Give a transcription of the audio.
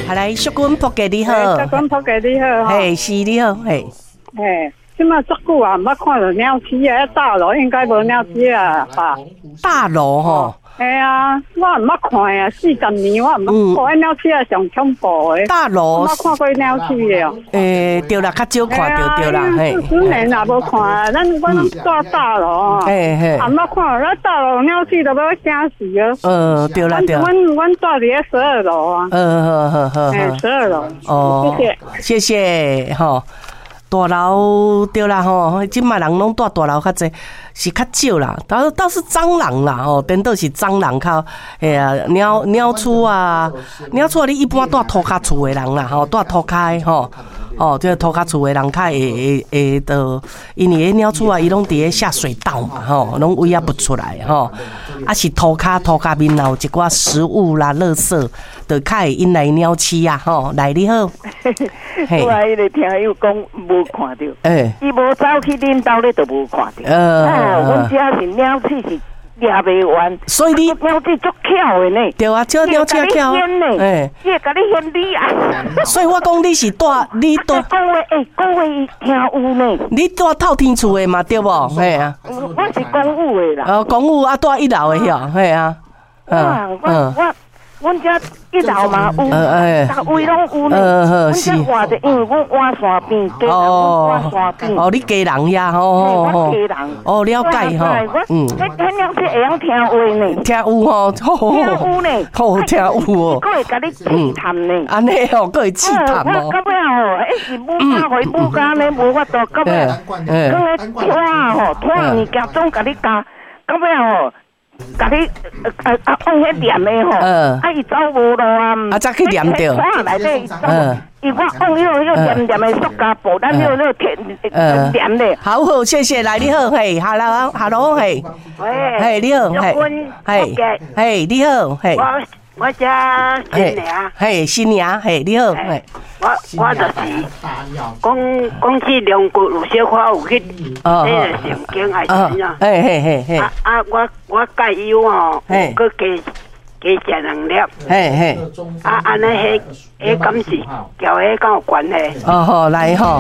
好來，淑君仆家你好。淑君仆家你好。嘿，是你好，嘿。嘿，這馬足久啊，毋捌看著鳥鼠啊，大樓應該無鳥鼠啊吧？大樓吼。嘿啊，我毋捌看啊，40年我毋捌看，鳥鼠啊上恐怖的。大樓。毋捌看過鳥鼠的哦。欸，對啦，較少看著對啦，嘿。40年也無看，咱我攏住大樓。嘿嘿。也毋捌看，咱大樓鳥鼠都欲驚死啊。對啦對。阮住佇咧12樓啊。嗯，好好好。12樓。哦。謝謝。謝謝，吼。大樓對啦吼，這擺人攏住大樓較濟，是較少啦。倒是蟑螂啦吼，顛倒是蟑螂較，嘿啊，鳥鼠啊，鳥鼠啊，你一般住塗跤厝的人啦吼，住塗跤的吼，哦，這個塗跤厝的人較會著，因為彼鳥鼠啊，伊攏佇咧下水道嘛吼，攏圍仔不出來吼，啊是塗跤面有一寡食物啦、垃圾，就較會引來鳥鼠啊吼。來，你好。我彼个聽友講無看著，伊無走去恁兜咧，就無看著。哦，阮遮是鳥鼠是掠袂完，所以你鳥鼠足巧的呢。對啊，這鳥鼠巧。欸，伊會共你嫌你啊。所以我講你是住你住。講話欸，講話伊聽有呢。你住透天厝的嘛對無？嘿啊。我是公寓的啦。哦，公寓啊，住一樓的遐，嘿啊。我阮遮一樓嘛有，逐位攏有呢。阮遮活著，因為阮倚山邊，家人阮倚山邊。哦，你家人遐吼吼。我家人。哦，了解吼。嗯。彼鳥鼠會曉聽話呢。聽有吼。聽有呢。好聽有哦。閣會共你試探呢。按呢哦，閣會試探哦。我到尾吼，彼是母家予母家呢無法度，到尾囥咧拖吼，拖物件總共你咬，到尾吼。共你啊放彼黏的吼，啊伊走無路啊，啊才去黏著，內底伊我放彼个黏黏的塑膠布，咱彼个鐵黏的。好好，謝謝，來你好，嘿，hello，hello，嘿，嘿，你好，嘿，嘿，嘿，你好，嘿，我叫新娘，嘿，新娘，嘿，你好，嘿，我就是講講起龍骨有小可有去彼个神經還是怎樣？嘿嘿嘿嘿。啊啊！我解憂吼，閣加食兩粒。嘿嘿。啊，按呢，彼敢是交彼敢有關係？哦好，來吼。